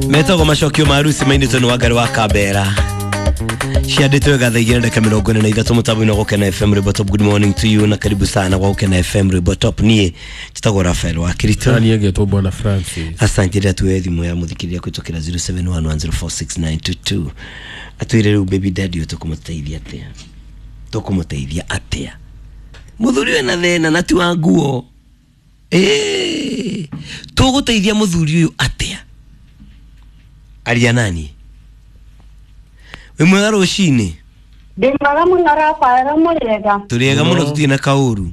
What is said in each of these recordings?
Metagwo macokio ma harusi mainĩtwo nĩ Wangari wa Kambera. Ciandĩtwo thaa 2:43 mũtambo-inĩ wa Gũkena FM Rwĩmbo Top. Good morning to you na karibu sana gwa Gũkena FM Rwĩmbo Top. Niĩ njĩtagwo Rafael wa Kirito. Nani egetwo Bwana Francis. Asante rĩrĩa tuoye thimũ ya mũthikĩrĩria kũhĩtũkĩra 0711046922 atwĩre rĩu baby daddy ũyũ tũkũmũteithia atĩa, tũkũmũteithia atĩa mũthuri wĩna thĩna na ti wa nguo. Tũgũteithia mũthuri ũyũ atĩa? Aria nani wĩ mwega rũcinĩ? Ndĩ mwega mũno Rafael, mũrĩega? Tũrĩega mũno, tũtirĩ na kaũru.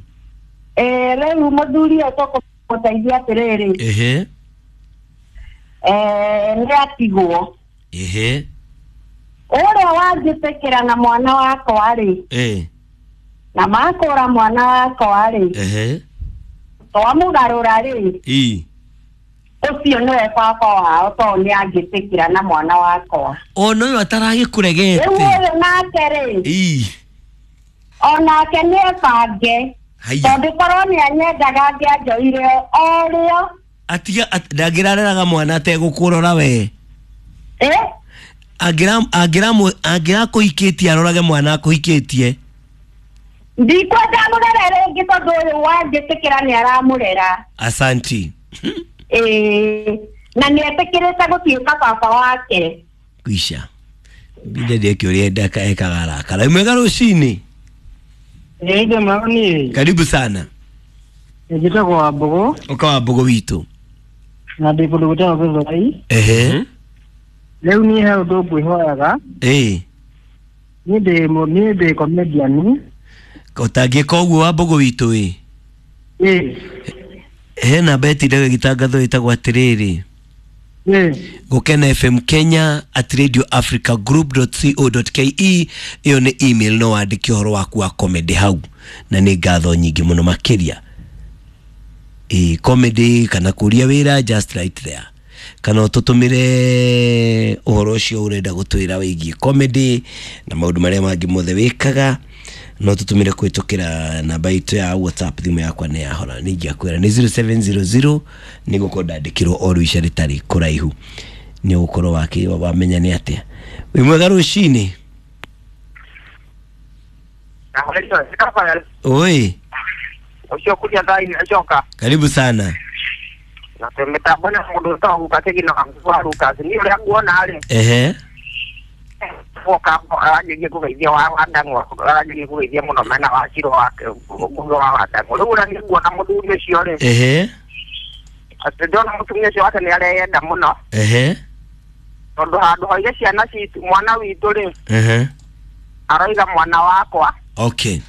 Rĩu mũthuri ũyũ tũkũmũteithia atĩrĩrĩ. Nĩ atigwo. Ũrĩa wanjĩtĩkĩra na mwana wakwa rĩ, na makũra mwana wakwa rĩ, twamũgarũra rĩ, ũcio nĩwe baba wao tondũ nĩ angĩtĩkĩra na mwana wakwa. Ona ũyũ ataragĩkũregete. Rĩu ũyũ nake rĩ, onake nĩ ebange tondũ korwo nĩ anyendaga angĩanjoire o rĩo. Atiga ndangĩrareraga mwana ategũkũrora we. Angĩrakũhikĩtie arorage mwana akũhikĩtie. Ndikwenda mũrere rĩngĩ tondũ ũyũ wanjĩtĩkĩra nĩ aramũrera. Asanti. Na nĩ etĩkĩrĩte gũtuĩka baba wake. Kwisha bidadi yake ũrĩa endaka ekaga arakara. Mwega rũcinĩ? Ĩĩ maoni. Karibu sana. Njĩtagwo Wambũgũ. Ũka Wambũgũ witũ. Na ndĩ kũndũ gwĩtagwo Gĩthũrai. Rĩu niĩ he ũndũ ngwĩhoyaga. Niĩ ndĩ comedian. Ũtangĩka ũguo Wambũgũ witũ ĩ. He namba ĩtindaga ĩgĩtangathwo ĩtagwo atĩrĩrĩ. Gũkena FM Kenya at radioafricagroup.co.ke. Ĩyo nĩ email, no wandĩke ũhoro waku wa comedy hau na nĩ ngatho nyingĩ mũno makĩria. Comedy kana kũria wĩra, just right there, kana ũtũtũmĩre ũhoro ũcio ũrenda gũtwĩra wĩgiĩ comedy na maũndũ marĩa mangĩ mothe wĩkaga. No tũtũmĩre kũhĩtũkĩra namba itũ ya WhatsApp. Thimũ yakwa nĩ yahora, nĩ ingĩakwĩra nĩ 0700 nĩ gũkorwo ndandĩkĩrwo o rũica rĩtarĩ kũraihu, nĩ ũgũkorwo wamenya nĩ atĩa. Wĩ mwega rũcinĩ? Oi. Ũcio kuria thaa-inĩ acoka. Karibu sana. Na mĩtambo na mũndũ ũtagwo Lucas Gino wa Lucas. Niĩ ũrĩa nguona rĩ. Woka aranjĩrie kũgeithia wa Wandang'ũ, aranjĩrie kũgeithia mũno mena wa Ciro wake mũndũ wa Wandang'ũ. Rĩu ũrĩa niĩ nguona mũthuri ũcio rĩ. Atĩ ndona mũtumia ũcio wake nĩ areyenda mũno. Tondũ handũ hoige ciana citũ, mwana witũ rĩ. Aroiga mwana wakwa. Okay.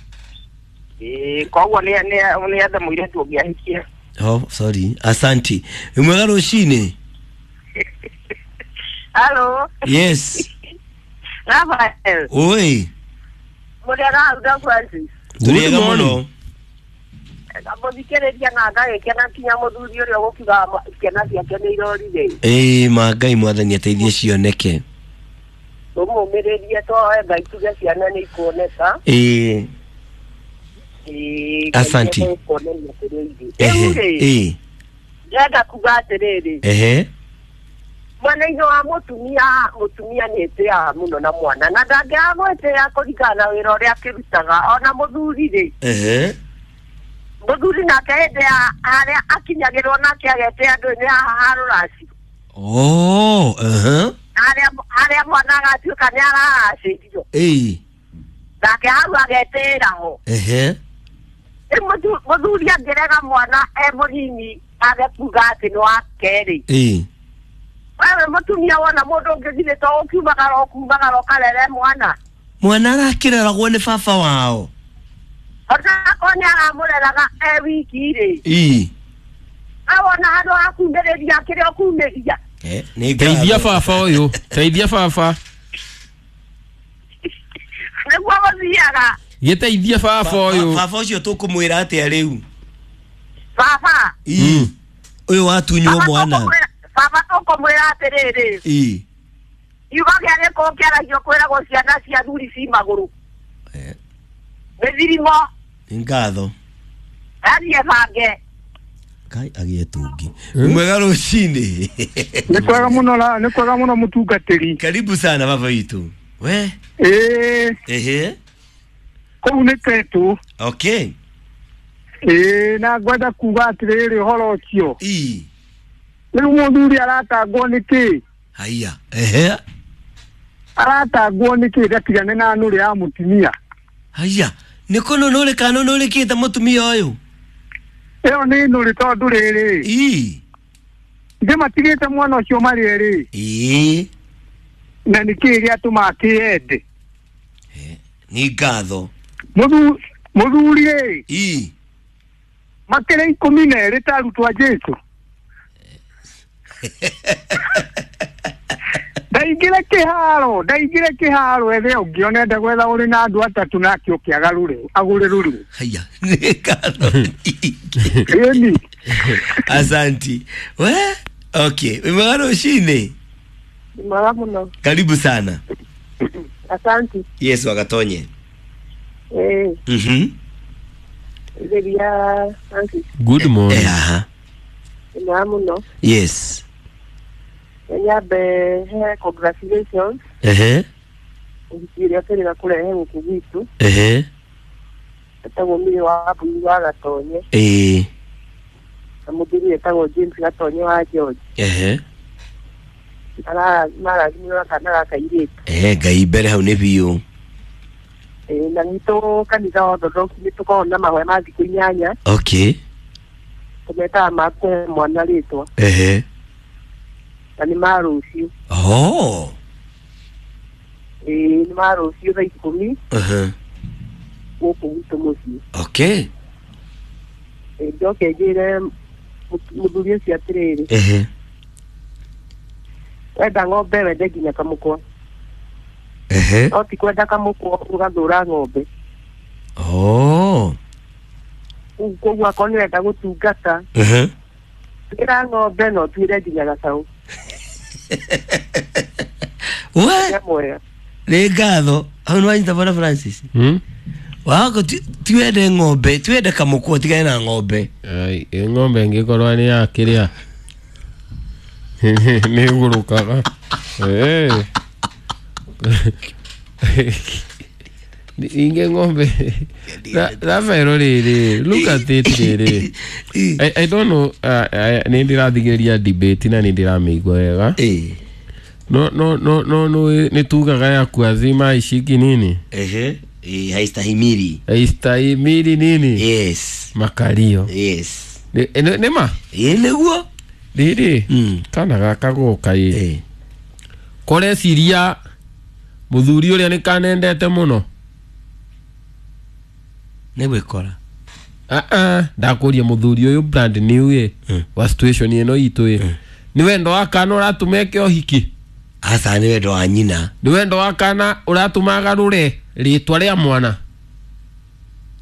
Koguo nĩ ethe mũirĩtu ũngĩ ahikie. Oh, sorry. Asanti. Mwega rũcinĩ? Hello. Yes. Rafael. Oi. Mũrĩega hau na Francis? Tũrĩega mũno. Mũthikĩrĩria na ngagĩkena kinya mũthuri ũrĩa ũgũkiuga ciana ciake nĩ irorire. Ma Ngai mwathani ateithie cioneke. Tũmũmĩrĩrie twoe Ngai tuge ciana nĩ ikuoneka. Asanti. Ndĩrenda kuga atĩrĩrĩ. Mwena-inĩ wa mũtumia, mũtumia nĩ ĩtĩaga mũno na mwana na ndangĩaga gwĩtĩa kũringana na wĩra ũrĩa akĩrutaga. Ona mũthuri rĩ, mũthuri nake hĩndĩ ya harĩa akinyagĩrwo nake agetĩa andũ nĩ haha ha rũracio. Harĩa mwana agatuĩka nĩ araracĩrio. Nake hau agetĩĩra ho. Mũthuri angĩrega mwana e mũnini age kuga atĩ nĩ wake rĩ. Wewe mũtumia wona mũndũ ũngĩ githĩ to ũkiumagara ũkumagara ũkarere mwana. Mwana arakĩreragwo nĩ baba wao. Onakorwo nĩ aramũreraga e wiki rĩ. Awona handũ ha kumĩrĩria kĩrĩa ũkumĩria. Teithia baba ũyũ, teithia baba. Nĩguo gũthiaga. Gĩteithie baba ũyũ. Baba ũcio tũkũmwĩra atĩa rĩu? Baba. Ũyũ watunywo mwana. Baba tũkũmwĩra atĩrĩrĩ. Kiugo kĩa gĩkũyũ kĩaragio kwĩragwo ciana cia thuri ci magũrũ. Mĩthirimo. Nĩ ngatho. Athiĩ bange. Kai agie tungi. Mwega rucini. Nĩ kwega mũno la, nĩ kwega mũno mũtungatĩri. Karibu sana baba witu. We? Ehe. Kũu nĩ Tetu. Okay. Na ngwenda kuga atĩrĩrĩ ũhoro ũcio. Ii. Rĩu mũthuri aratangwo nĩkĩ? Haiya. Ehe. Aratangwo nĩkĩ ndatigane na nũrĩ ya mũtumia? Haiya. Nĩ kũnũnũrĩ kana nũnũrĩkĩte mũtumia ũyũ? Ĩyo nĩ nũrĩ tondũ rĩrĩ. Ii. Ithe matigĩte mwana ũcio marĩ erĩ. Ii. Na nĩkĩ gĩatũma akĩende? Nĩ ngatho. Mũthuri ĩ. Ii. Makĩrĩ 12 ta arutwo a Jesũ. Ndaingĩre kĩharo ethe ũngĩ ona enda gwetha ũrĩ na andũ atatũ nake ũke agarũre agũre rũrũ. Haya, nĩ ngatho nyingĩ. Ĩni. Asanti. We? Okay, mwega rũcinĩ. Mwega mũno. Karibu sana. Asanti. Yesu agatonye. Igeria Francis. Good morning. Aha. Mwega mũno. Yes. Nyambe he congratulations. Ehe. Ũhiki ũrĩa tũrĩ kũrehe gũkũ gwitũ. Ehe. Etagwo Miri wa Mbui wa Gatonye. Na mũthuri etagwo James Gatonye wa George. Ehe. Marathimwo na kana gaka kairĩtu. Ngai mbere hau nĩ biũ. Na gwitũ kanitha wa Orthodox nĩ tũkoragwo na mahoya ma thikũ 8. Okay. Tũmetaga ma kũhe mwana rĩtwa. Ehe. Na nĩ ma rũciũ. Oh. Nĩ ma rũciũ thaa 10. Ehe. Gũkũ gwitũ mũciĩ. Okay. Njoke njĩre mũthuri ũcio atĩrĩrĩ. Ehe. Wenda ng'ombe wende nginya kamũkwa. Ehe. No ti kwenda kamũkwa ũgathũra ng'ombe. Oh. Koguo akorwo nĩ wenda gũtungata. Ehe. Tuĩra ng'ombe no tuĩre nginya gacaũ. We? Nĩ ngatho. Hau nĩ wanyita bwana Francis? Wako tuende ng'ombe, tuende kamũkwa tigane na ng'ombe. Ai, ng'ombe ĩngĩkorwo nĩ ya kĩrĩa. Nĩ ĩgũrũkaga. Inge ng'ombe. Rafael rĩrĩ, look at it rĩrĩ. I don't know, nĩ ndĩrathikĩrĩria debate na nĩ ndĩramĩigua wega. No no no no no nĩ tugaga ya kuazima ishiki nini? Ehe. Haistahimili. Haistahimili nini? Yes. Makalio. Yes. Nĩ ma? Nĩguo. Rĩrĩ. Kana gaka gũka ĩ. Koreciria mũthuri ũrĩa nĩ kanendete mũno. Nĩ gwĩkora. Ndakũria mũthuri ũyũ brand new ĩ wa situation ĩno itũ ĩ. Nĩ wendo wa kana ũratũma eke ũhiki? Aca nĩ wendo wa nyina. Nĩ wendo wa kana ũratũma agarũre rĩtwa rĩa mwana?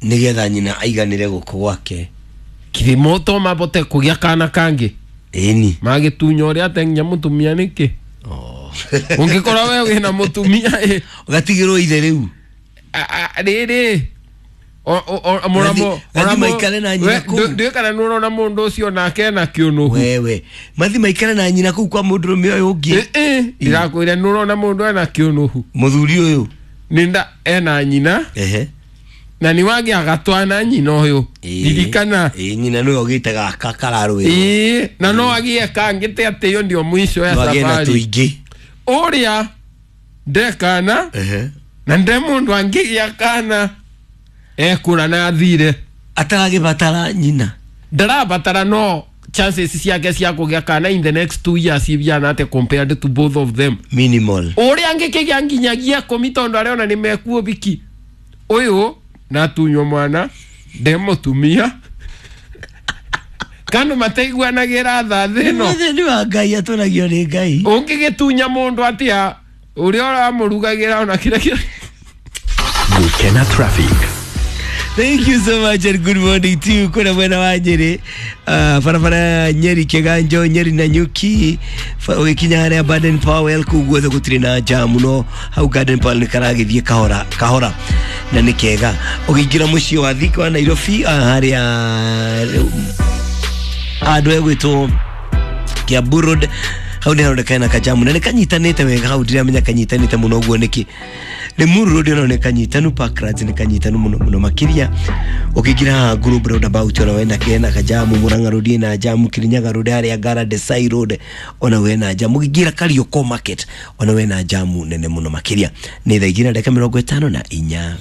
Nĩgetha nyina aiganĩre gũkũ gwake. Kĩrĩmo to mabote kũgĩa kana kangĩ. Ĩni. Magĩtunya ũrĩa ate nginya mũtumia nĩkĩ? Ũngĩkorwo we wĩna mũtumia ĩ. Ũgatigĩrwo ithe rĩu. Rĩrĩ. Mathi maikare na nyina kũu. Ndiũĩ kana nĩ ũrona mũndũ ũcio nake ena kĩũnũhu. Wewe. Mathi maikare na nyina kũu kwa mũndũrũme ũyũ ũngĩ. Ndĩrakwĩra nĩ ũrona mũndũ ena kĩũnũhu. Mũthuri ũyũ. Nĩnda ena nyina. Ehe. Na nĩ wagĩ agatwana nyina ũyũ. Ririkana. Nyina nĩwe ũgĩte gaka kararũĩrwo. Na no agĩe kangĩ te atĩ ĩyo ndio mwisho ya No agĩe na safari. tũingĩ. Ũrĩa ndekana. Na nde mũndũ angĩgĩa kana. Ekũra na athire. Ataragĩbatara nyina. Ndarabatara no chances ciake cia kũgĩa kana in the next 2 years ibiana ate compared to both of them. Minimal. Ũrĩa angĩkĩgĩa nginyagia 10 tondũ arĩona nĩ mekuo biki. Ũyũ natunywo mwana nde mũtumia. Kanu mataiguanagĩra tha thĩ ĩno. Nĩ wa Ngai atũragio nĩ Ngai. Ũngĩgĩtunya mũndũ atĩa ũrĩa ũramũrugagĩra ona kĩrĩa kĩrĩa. Gukena traffic. Thank you so much and good morning to you. Kuna mwena wa Nyeri, barabara Nyeri Kiganjo, Nyeri na Nyuki, ũgĩkinya harĩa Baden Powell kũu guothe gũtirĩ na jam no hau Garden Powell nĩ karagĩthiĩ kahora kahora na nĩ kega. Ũgĩingĩra mũciĩ wa Thika wa Nairobi harĩa Handũ hegwĩtwo Kiambu Road hau nĩ haroneka hena kajamu na nĩ kanyitanĩte wega hau, ndiramenya kanyitanĩte mũno ũguo nĩkĩ. Limuru Road ona nĩ kanyitanu, Parklands nĩ kanyitanu mũno mũno makĩria. Ũkĩingĩra haha Globe Roundabout ona wena kena kajamu, Murang'a Road ĩna jamu, Kirinyaga Road harĩa Ngara Desai Road ona wena jamu, ũkĩingĩra Kariokor Market ona wena jamu nene mũno makĩria. Nĩ thaa 2:54.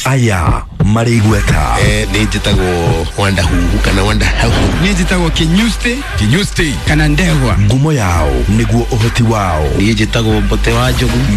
Aya marĩ igweta. Nĩ njĩtagwo Wanda Huhu kana Wanda Hauhu. Niĩ njĩtagwo Kinyusti. Kinyusti kana Ndegwa. Ngumo yao nĩguo ũhoti wao. Niĩ njĩtagwo Mbote wa Njogu.